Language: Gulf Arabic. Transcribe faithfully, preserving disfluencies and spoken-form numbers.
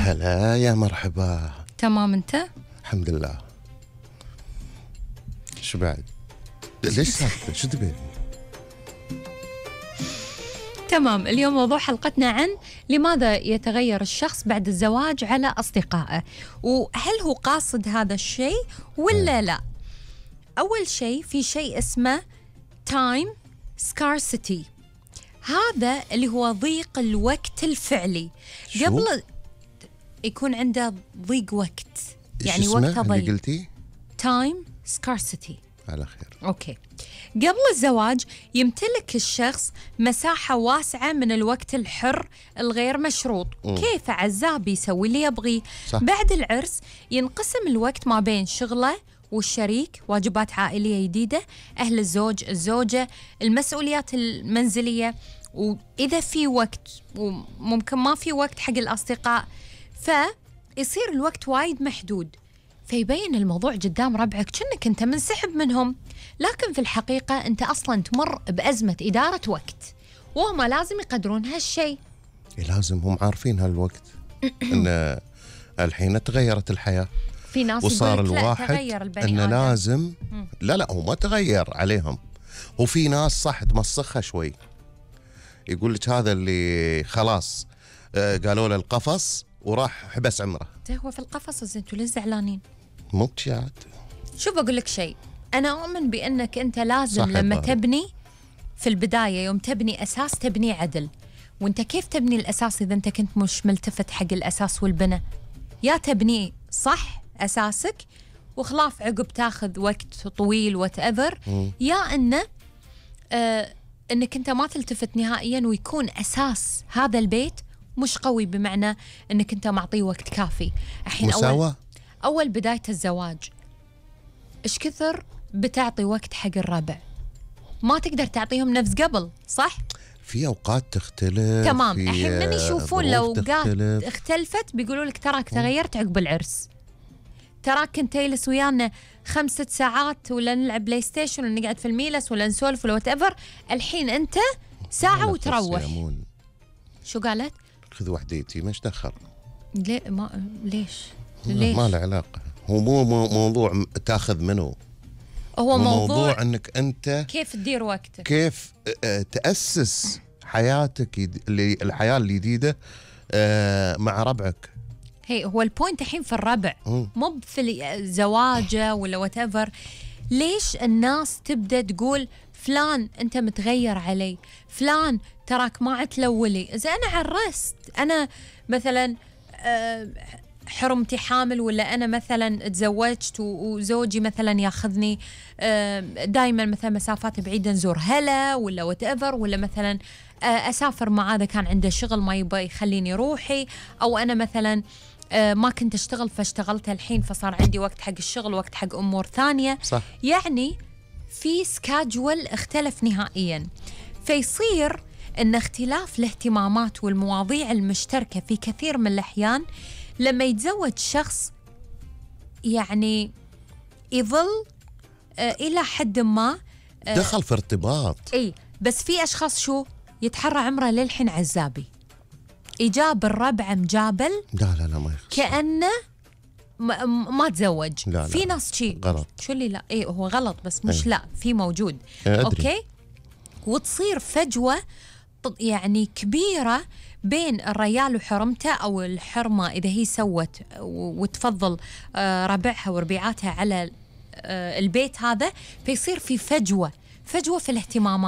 هلا يا مرحبا. تمام أنت؟ الحمد لله. شو بعد؟ ليش ساكتة؟ شو تبين؟ تمام. اليوم موضوع حلقتنا عن لماذا يتغير الشخص بعد الزواج على أصدقائه، وهل هو قاصد هذا الشيء ولا لا؟ أول شيء في شيء اسمه time scarcity، هذا اللي هو ضيق الوقت الفعلي. شو؟ قبل يكون عنده ضيق وقت، يعني وقت وقته ضيق. قلتي؟ time scarcity. على خير. أوكي. قبل الزواج يمتلك الشخص مساحة واسعة من الوقت الحر الغير مشروط، م. كيف عزاب يسوي اللي يبغيه. صح. بعد العرس ينقسم الوقت ما بين شغله والشريك، واجبات عائلية جديدة، أهل الزوج، الزوجة، المسؤوليات المنزلية، وإذا في وقت وممكن ما في وقت حق الأصدقاء، فيصير الوقت وايد محدود، فيبين الموضوع قدام ربعك كأنك أنت منسحب منهم، لكن في الحقيقة أنت أصلاً تمر بأزمة إدارة وقت، وهم لازم يقدرون هالشيء. لازم هم عارفين هالوقت إن الحين تغيرت الحياة، في ناس وصار يقولك لا الواحد تغير البني إنه آدم. لازم لا لا هو ما تغير عليهم، وفي ناس صح تمسخها شوي، يقول لك هذا اللي خلاص آه قالوا له القفص وراح حبس عمره. هو في القفص، زين انتوا ليش زعلانين؟ مو بشاد. شوف أقول لك شيء، أنا أؤمن بأنك أنت لازم لما باري. تبني في البداية، يوم تبني أساس تبني عدل. وأنت كيف تبني الأساس إذا أنت كنت مش ملتفت حق الأساس والبناء؟ يا تبني صح أساسك وخلاف عقب تاخذ وقت طويل whatever، يا أنه آه أنك أنت ما تلتفت نهائيا ويكون أساس هذا البيت مش قوي، بمعنى أنك أنت معطيه وقت كافي. الحين أول, مساواة. أول بداية الزواج إيش كثر بتعطي وقت حق الربع؟ ما تقدر تعطيهم نفس قبل، صح؟ في أوقات تختلف. تمام. في الحين من يشوفون ظروف لو قات تختلف. اختلفت بيقولوا لك تراك تغيرت عقب العرس، تراك كنت تجلس ويانا خمسة ساعات ولا نلعب بلاي ستيشن ولا نقعد في الميلس ولا نسولف ولا وات ايفر، الحين انت ساعة وتروح. شو قالت؟ خذ وحديتي مش دخل. ليه ما ليش؟ ليش؟ ما له علاقة، هو مو مو موضوع تاخذ منه، هو, هو موضوع, موضوع انك انت كيف تدير وقتك، كيف تأسس حياتك اللي الحياة الجديدة مع ربعك. هي هو البوينت الحين في الربع، مو في الزواجة ولا وات ايفر. ليش الناس تبدأ تقول فلان أنت متغير علي، فلان تراك ما عتلولي؟ إذا أنا عرست، أنا مثلا حرمتي حامل، ولا أنا مثلا تزوجت وزوجي مثلا ياخذني دايما مثلا مسافات بعيدة نزور هلا ولا وات ايفر، ولا مثلا أسافر مع هذا كان عنده شغل ما يبغى يخليني روحي، أو أنا مثلا ما كنت أشتغل فاشتغلت الحين فصار عندي وقت حق الشغل وقت حق أمور ثانية. صح. يعني في سكاجول اختلف نهائيا، فيصير أن اختلاف الاهتمامات والمواضيع المشتركة في كثير من الأحيان لما يتزوج شخص يعني يظل آه إلى حد ما آه دخل في ارتباط. إيه، بس في أشخاص شو يتحرى عمره للحين عزابي، إجاب الربع مجابل، لا لا لا ما يخص. كأنه ما, ما تزوج. لا لا في ناس شيء غلط. شو اللي لا إيه هو غلط، بس مش إيه. لا في موجود. أدري. أوكي. وتصير فجوة يعني كبيرة بين الريال وحرمته، أو الحرمة إذا هي سوت وتفضل ربعها وربيعاتها على البيت هذا، فيصير في فجوة فجوة في الاهتمامات.